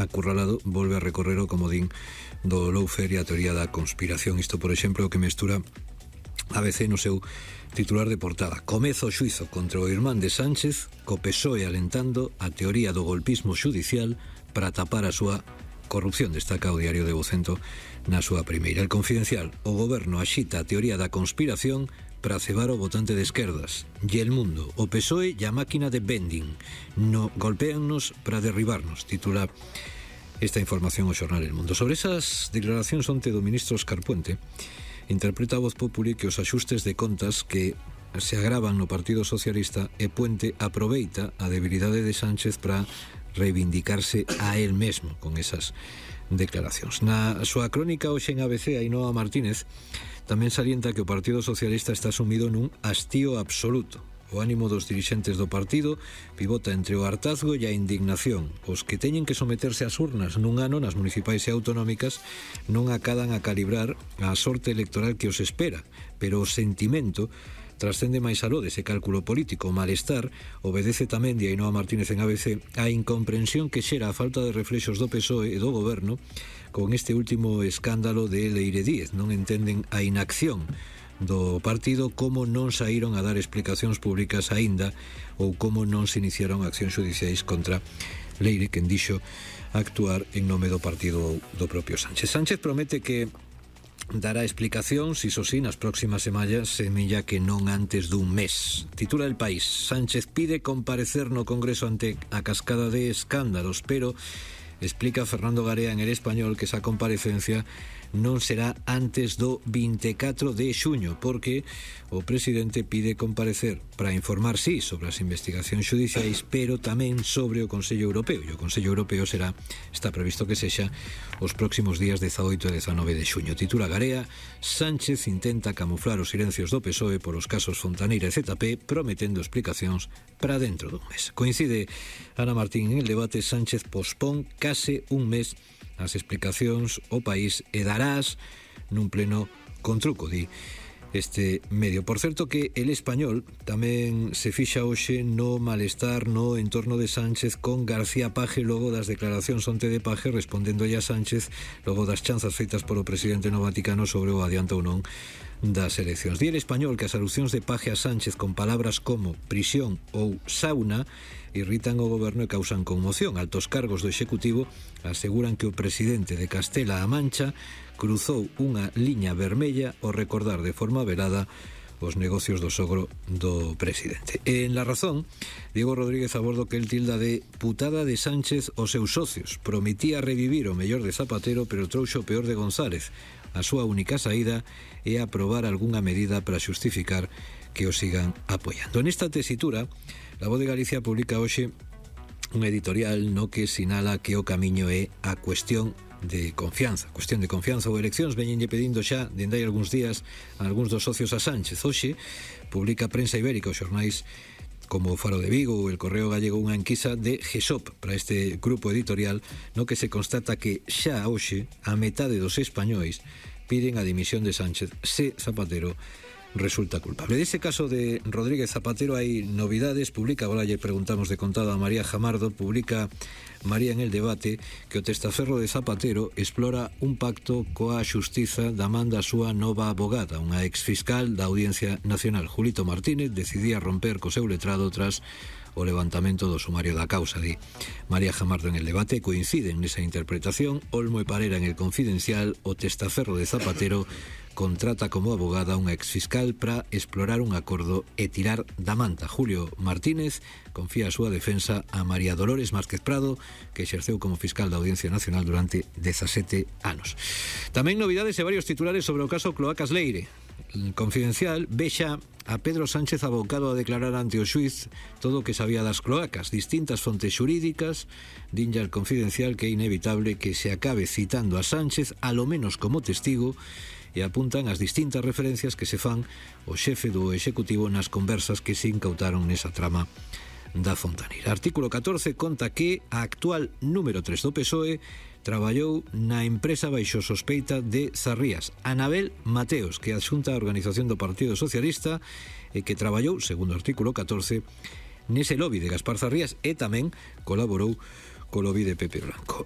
acurralado, volve a recorrer o comodín do lawfare e a teoría da conspiración. Isto, por exemplo, que mestura ABC no seu titular de portada: comezo o xuizo contra o irmán de Sánchez, co PSOE alentando a teoría do golpismo xudicial para tapar a súa corrupción, destaca o diario de Vocento na súa primeira. El Confidencial: o goberno axita a teoría da conspiración para cebar o votante de esquerdas. E El Mundo: o PSOE e a máquina de vending no golpéannos para derribarnos, titula esta información o xornal El Mundo. Sobre esas declaracións onte do ministro Óscar Puente, interpreta a Voz Populi que os axustes de contas que se agravan no Partido Socialista e Puente aproveita a debilidade de Sánchez para reivindicarse a él mesmo con esas declaracións. Na súa crónica hoxe en ABC, Ainhoa Martínez tamén salienta que o Partido Socialista está sumido nun hastío absoluto. O ánimo dos dirixentes do partido pivota entre o hartazgo e a indignación. Os que teñen que someterse ás urnas nun ano nas municipais e autonómicas non acadan a calibrar a sorte electoral que os espera, pero o sentimento trascende máis aló dese cálculo político. O malestar obedece tamén, de Ainhoa Martínez en ABC, a incomprensión que xera a falta de reflexos do PSOE e do goberno con este último escándalo de Leire Díez. Non entenden a inacción do partido, como non saíron a dar explicacións públicas aínda, ou como non se iniciaron accións xudiciais contra Leire, quen dixo actuar en nome do partido do propio Sánchez. Sánchez promete que dará explicacións, iso sí, nas próximas semanas, semella que non antes dun mes. Titula El País: Sánchez pide comparecer no Congreso ante a cascada de escándalos, pero explica Fernando Garea en El Español que esa comparecencia non será antes do 24 de xuño, porque o presidente pide comparecer para informar, sí, sobre as investigacións xudiciais, pero tamén sobre o Consello Europeo, e o Consello Europeo está previsto que sexa os próximos días 18 e 19 de xuño. Titula Garea: Sánchez intenta camuflar os silencios do PSOE por os casos Fontaneira e ZP, prometendo explicacións para dentro dun mes. Coincide Ana Martín en El Debate: Sánchez pospón case un mes as explicacións ao país e darás nun pleno con truco, di este medio. Por certo que El Español tamén se fixa hoxe no malestar no entorno de Sánchez con García Paje logo das declaracións onte de Paje respondendo a Sánchez logo das chanzas feitas polo presidente no Vaticano sobre o adianto ou non das eleccións. Di El Español que as alusións de Paje a Sánchez con palabras como prisión ou sauna irritan o goberno e causan conmoción. Altos cargos do Executivo aseguran que o presidente de Castela-A Mancha cruzou unha liña vermella ao recordar de forma velada os negocios do sogro do presidente. En La Razón, Diego Rodríguez abordo que el tilda de putada de Sánchez aos seus socios. Prometía revivir o mellor de Zapatero, pero trouxo o peor de González. A súa única saída é aprobar algunha medida para xustificar que o sigan apoiando. Nesta tesitura, La Voz de Galicia publica hoxe un editorial no que sinala que o camiño é a cuestión de confianza ou eleccións. Veñenlle pedindo xa dende hai algúns días a algúns dos socios a Sánchez. Hoxe publica Prensa Ibérica os xornais como o Faro de Vigo ou El Correo Gallego unha enquisa de GESOP para este grupo editorial no que se constata que xa hoxe a metade dos españois piden a dimisión de Sánchez se Zapatero resulta culpable. Dese caso de Rodríguez Zapatero hai novidades. Publica, agora lle preguntamos de contado a María Jamardo, publica María en El Debate que o testaferro de Zapatero explora un pacto coa xustiza da man da súa nova abogada, unha exfiscal da Audiencia Nacional. Julito Martínez decidía romper co seu letrado tras o levantamento do sumario da causa, di María Jamardo en El Debate. Coinciden nesa interpretación Olmo e Parera en El Confidencial. O testaferro de Zapatero contrata como abogada unha exfiscal para explorar un acordo e tirar da manta. Julio Martínez confía a súa defensa a María Dolores Márquez Prado, que exerceu como fiscal da Audiencia Nacional durante 17 anos. Tamén novidades e varios titulares sobre o caso Cloacas Leire. El Confidencial vexa a Pedro Sánchez abocado a declarar ante o xuiz todo o que sabía das cloacas. Distintas fontes xurídicas dinlle al Confidencial que é inevitable que se acabe citando a Sánchez a lo menos como testigo e apuntan as distintas referencias que se fan o xefe do Executivo nas conversas que se incautaron nesa trama da Fontaneira. Artículo 14 conta que a actual número 3 do PSOE traballou na empresa baixo sospeita de Zarrías, Anabel Mateos, que adxunta a organización do Partido Socialista e que traballou, segundo o artículo 14, nese lobby de Gaspar Zarrías e tamén colaborou co lobby de Pepe Blanco.